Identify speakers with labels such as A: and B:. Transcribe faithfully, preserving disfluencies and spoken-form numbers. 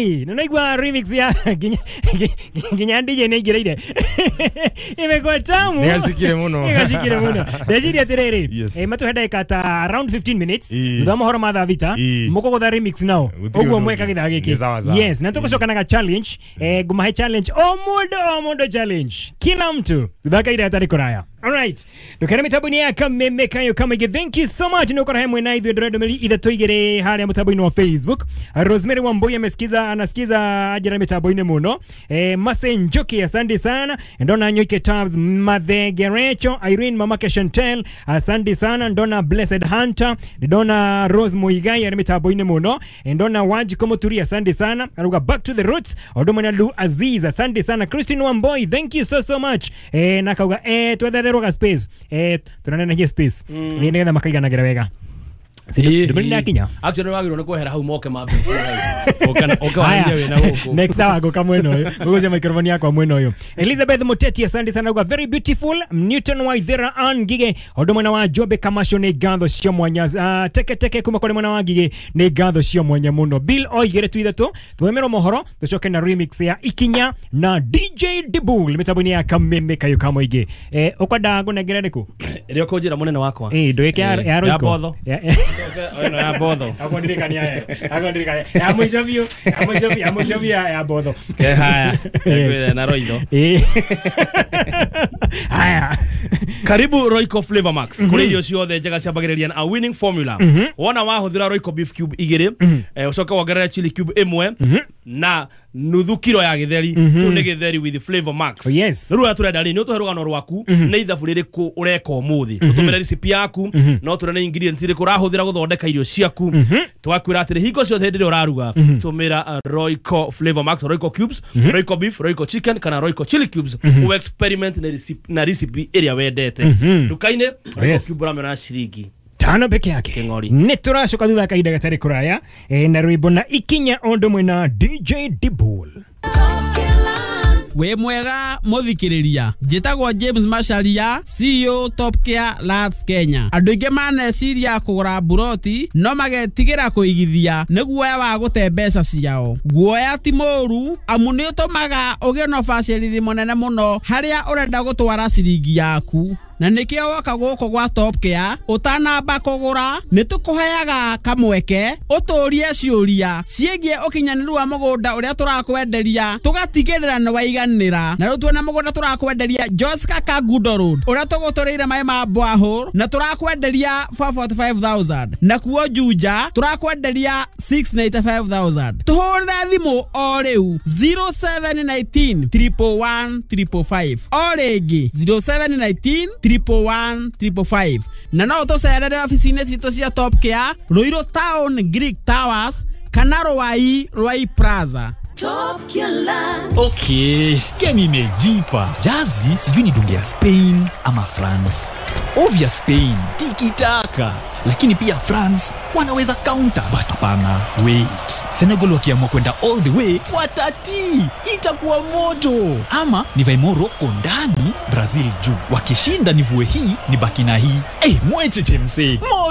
A: Hey, ninaigua remix ya nginya nginya D J nĩaingĩrĩire. Imekuwa tamu.
B: Nĩgacikire mũno.
A: Nĩgacikire mũno. Ndeciria atĩrĩrĩ,
B: Yes.
A: eh, matũhe ndagĩka ta around fifteen minutes
B: Ii.
A: thutha wa mohoro ma thaa thita
B: Ii.
A: mũkũgũtha remix nao
B: Gũtirĩ
A: ũguo
B: ũndũ
A: mweka
B: ũngĩ.
A: gĩthaa gĩkĩ.
B: Nĩ sawa sawa.
A: Yes, na tũgũcoka na ga challenge, eh, ngũmahe challenge o mũndũ o mũndũ challenge kila mtu thutha wa kahinda gatarĩ kũraya. Alright, ndukere mitambo-inĩ ya Kameme Kayo Kamaingĩ. Thank you so much nĩ ũkora he mwena ithuĩ ndũrendũmĩrĩri ithatũ igĩrĩ harĩa mũtambo-inĩ wa Facebook. Rosemary Wambui amesikiza, anasikiza ajira mitambo-inĩ mũno. Eh, Mase Njoki, asante sana. Ndona Nyoike Tabs Mathegerecho, Irene Mamake Chantel, asante sana. Ndona Blessed Hunter, ndona Rose Muigai arĩ mitambo-inĩ mũno. Ndona Wanjiko Muturi, asante sana. Aruga back to the roots. Odomana Lu Aziz, asante sana. Christine Wamboi, thank you so so much. Eh, na kauga eh twetherwo ga space, eh tunaneneria space mm. Nĩgetha makaiganagĩra wega. Ndũmĩrĩri nĩyakinya.
C: Actually wagĩrĩirwo nĩ kwehera hau moke mambĩtie hau. Ũke ũke warĩrie wĩna gũkũ.
A: Next hour ngũka mwena ũyũ, ngũgũcia microphone yakwa mwena ũyũ. Elizabeth Muteti, asante sana kwa very beautiful. Newton Waithera Ann Ngige ũndũ mwena wa Jombe Kamasho nĩ ngatho cia mwanya. uh, teke teke kuma kũrĩ mwena wa Ngige nĩ ngatho cia mwanya mũno. Bill oigĩre tu ithatũ tũthomerwo mohoro tũcoke na remix ya Ikinya na D J Dibul mĩtambo-inĩ ya Kameme Kayo Kamoingĩ. Eh, ũkwenda ngũnengere rĩkũ?
C: Ĩrĩa ũkũnjĩra mũnene wakwa.
A: Eh, ndũĩke ya
C: Eh,
A: ya
C: ya
A: Royco.
C: Botho.
A: Ya-
C: Ĩno ya Botho.
A: Akondirikania eh. Akondirikania. Ya mwisho biũ, ya mwisho biũ, ya mwisho biũ ya ya Botho.
C: Eh, haya.
A: Yes.
C: Ngwĩre na Royco.
A: Eh. Haya.
C: Karibu Royco Flavor Max. Kũrĩ irio ciothe njega ciambagĩrĩria na a winning formula. Wona wahũthĩra Royco beef cube igĩrĩ, eh, ũcoke wongerere chili cube ĩmwe na nuthu kiro ya gĩtheri. Kĩu nĩ gĩtheri with Flavor Max.
A: Oh, yes.
C: Rĩu ũrĩa tũrenda rĩ, nĩ ũtũhe rũgano rwaku nĩ ithabu rĩrĩkũ ũreka ũmũthĩ. Tũtũmĩre recipe yaku, no tũre nĩ ingredients irĩkũ ũrahũthĩra gũthondeka irio ciaku. Tũgakwĩra atĩrĩ hingo ciothe hĩndĩ ĩrĩa ũraruga tũmĩra uh, Royco Flavor Max, Royco cubes, Royco beef, Royco chicken kana Royco chili cubes. U experiment na recipe na recipe ĩrĩa wendete. Nduka-inĩ Royco
A: Yes.
C: cube ũramĩona na ciringi
A: tano peke yake.
C: Kĩng'ori.
A: Nĩ tũracoka thutha wa kahinda gatarĩ kũraya, eh, na rwĩmbo na Ikinya ũndũ mwena D J Dibul.
D: Wĩ mwega mũthikĩrĩria, njĩtagwo James Macharia, C E O Top Care Lands Kenya. Andũ aingĩ maneciria kũgũra mburoti no magetigĩra kũigithia nĩ guoya wa gũte mbeca ciao. Guoya ti mũũru amu nĩ ũtũmaga ũgĩe na ũbacĩrĩri mũnene mũno harĩa ũrenda gũtwara ciringi yaku. Na nĩkĩo woka gũkũ gwa Top Care ũtanamba kũgũra nĩ tũkũheaga kamweke ũtũrie ciũria ciĩgiĩ ũkinyanĩru wa mũgũnda ũrĩa tũrakwenderia tũgatigĩrĩra nĩ waiganĩra. Na rĩu tuona mũgũnda tũrakwenderia Joska Kangundo Road ũrĩa tũgũtũrĩire maĩ ma borehole na tũrakwenderia four forty-five thousand, na kuo Juja tũrakwenderia six ninety-five thousand. Tũhũrĩre thimũ o rĩu zero seven nineteen triple one triple five, o rĩngĩ zero seven nineteen triple one triple five. Na no ũtũcerere ofici-inĩ citũ cia Top Care Ruiru Town Greek Towers kana Ruai Ruai Plaza.
E: Top Care.
F: Okay, game imejipa. Jazi sijui ni dunge ya Spain ama France. Obvious Spain, tiki-taka. Lakini pia France wanaweza counter, but hapana. Wait. Senegal wakiamua kwenda all the way, watati. Itakuwa moto. Ama nivae Morocco ndani, Brazil juu. Wakishinda nivue hii, nibaki na hii. Eh, hey, mwecheche msee.